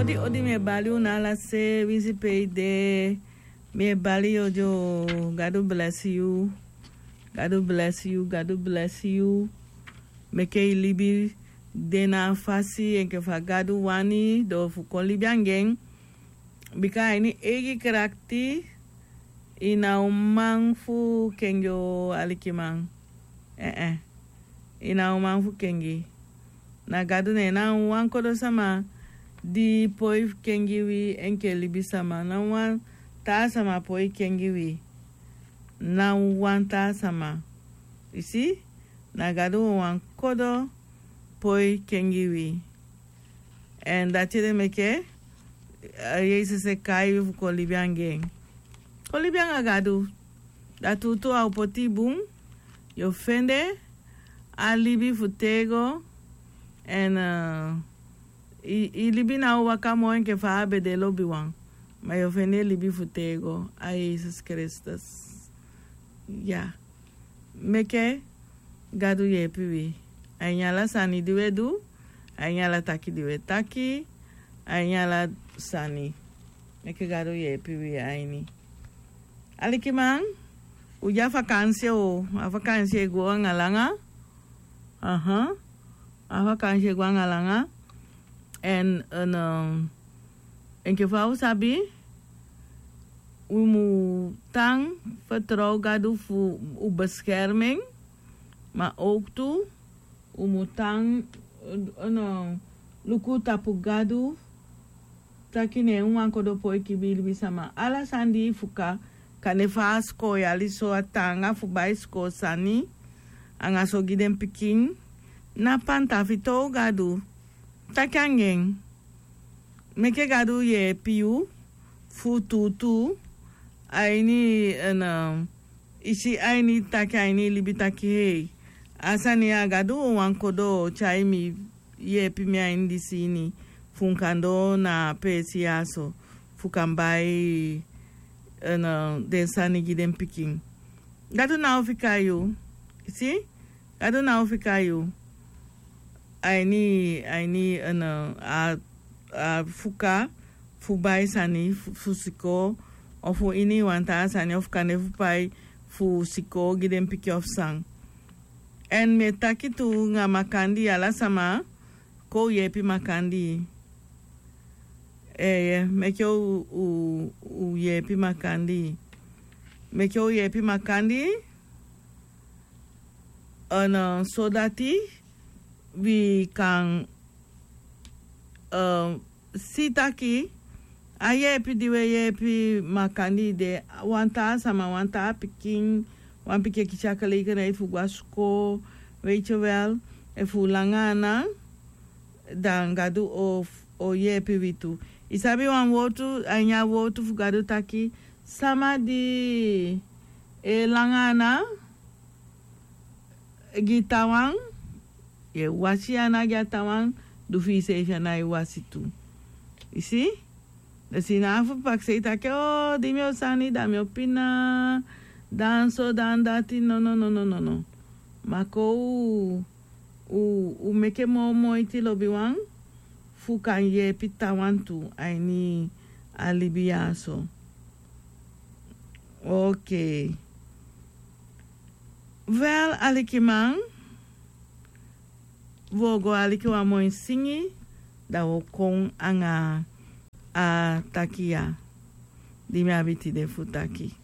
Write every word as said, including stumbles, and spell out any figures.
Odi odi, mi e bali unu ala se winsi pe i de. Mi e bali yu odi o. Gadu blesi yu. Gadu blesi yu, Gadu blesi yu. Meke i libi de na a fasi enke fa Gadu wani, da fu kon libi anga en. Bika a ini eigi krakti, i na o man fu kengi o alikiman. Ee, i na o man fu kengi. Na Gadu ne na wan kodo sama di poi kengi wi enke libisama. Na wan taa sama poi kengi wi. Na wan taa sama. I si, na Gadu wan kodo poi kengi wi. Èn dati ede meke, eh, Yesus e kai wi fu kon libi anga en. Kon libi anga Gadu. Da tuutuu a o poti i bun. Yu o fende a libi fu tego. Èn, eh, i, i libi na o waka moi enke fa a be de lobiwan. Ma yu o fende libi fu tego a Yesus Kristus. Ya. Meke Gadu yeepi wi a ini ala sani di wi e du, a ini ala taki di wi e taki, a ini ala sani. Meke Gadu yeepi wi a ini. Alikiman, u de a vakansi o, a vakansi e go anga langa. Aha. A vakansi e go anga langa. Èn, èn, eh, enke fa u sabi, u mu tan fertrow Gadu fu u beskerming, ma ook tu u mu tan, eh, no, luku tapu Gadu, taki ne en wan kodo poi kengi libisama. Ala sani di i fuka, kande fa a sikoo yali so, a taanga fu bai sikoo sani, anga so gi den pikin, na panta, fertrow Gadu. Taki anga en. Meke Gadu yeepi yu fu tuutuu a ini, èn, eh, i si a ini taki, a ini libi taki hei. A sani ya Gadu wan kodo tyai mi, yeepi mi a ini disi ini. Fu mi kan doo na a peesi ya so. Fu kan bai, èn, eh, den sani gi den pikin. Gadu ná o fika yu. I si? Gadu ná o fika yu. A ini, a ini, èn, eh, a, a fuka fu bai sani fu, fu sikoo, ofu ini wan taa sani, ofu kande fu pai fu sikoo gi den pikin ofu san. Èn mi e taki tu anga makandii, ala sama, kon u yeepi makandii. Ee, meke u, u, u yeepi makandii. Meke u yeepi makandii. Èn, eh, sodati wi kan, eh, si taki a yeepi di wi e yeepi makandii de, wan taa sama, wan taa pikin, wan pikin e kisi a gelegenheid fu go a sikoo, weet je wel, efu u langa ana, dan Gadu o, o yeepi wi tu. I sabi wan wowtu, a ini a wowtu fu Gadu taki, sama di e langa ana gi taawan, yu e wasi ana gi a taawan, du fi iseefi ana e wasi tu. I si? Da si na fu pakisei taki, o, di mi o sani, da mi o pina, dan so, dan dati, no, no, no, no, no, no. Ma kon u, u, u meke moo moiti, lobiwan, fu kan yeepi taawan tu a ini a libi ya so. Okei. Wel, alikiman, wi o go aliki wan moi singi, da wi o kon anga a taki ya di mi abi tide fu taki.